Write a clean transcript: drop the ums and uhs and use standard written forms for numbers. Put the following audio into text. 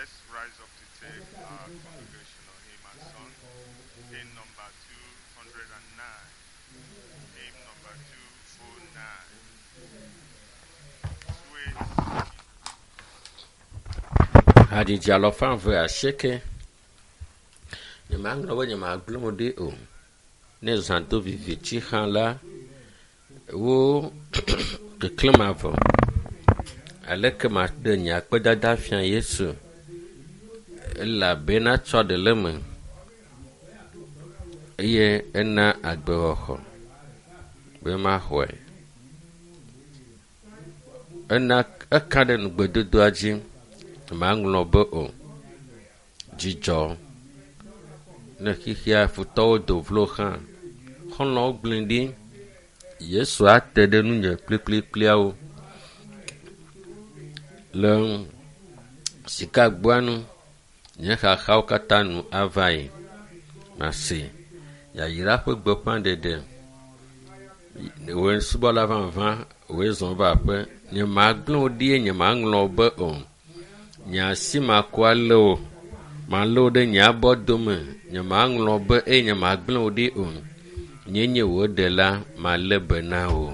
Let's rise up to take our congregational hymn and song. Hymn number 209. Hymn number 209. Sweet Hadzidzi alɔfa eve asieke. Nyemaŋlɔ be nyemagblẽ wo ɖi o. Ne zã do viviti hã la, wo keklẽ mavɔ. Aleke maɖe nye akpedada fia Yesu elabena tsɔ ɖe le eme eye ena agbexɔxɔ be maxɔe. Ena eka ɖe nugbedodoa dzi maŋlɔ be o. Dzidzɔ ne xixia futɔwo do vlo hã, xɔlɔ̃wo gblẽ ɖi. Yesu ate ɖe nunye kplikplikpliawo. Le sikagboa nu, nye xaxawo katã nu ava yi. Mase yayra ƒe gbeƒãɖeɖe. Wòe subɔla vavã, wòe zɔ va aƒe. Nyemagblẽ wò ɖi eye nyemaŋlɔ wò be o. Nye asi makɔ alé wò. Malé wò ɖe nye abɔ dome. Nyemaŋlɔ wò be eye nyemagblẽ wò ɖi o. Nyee nye wò ɖela, malé be na wò.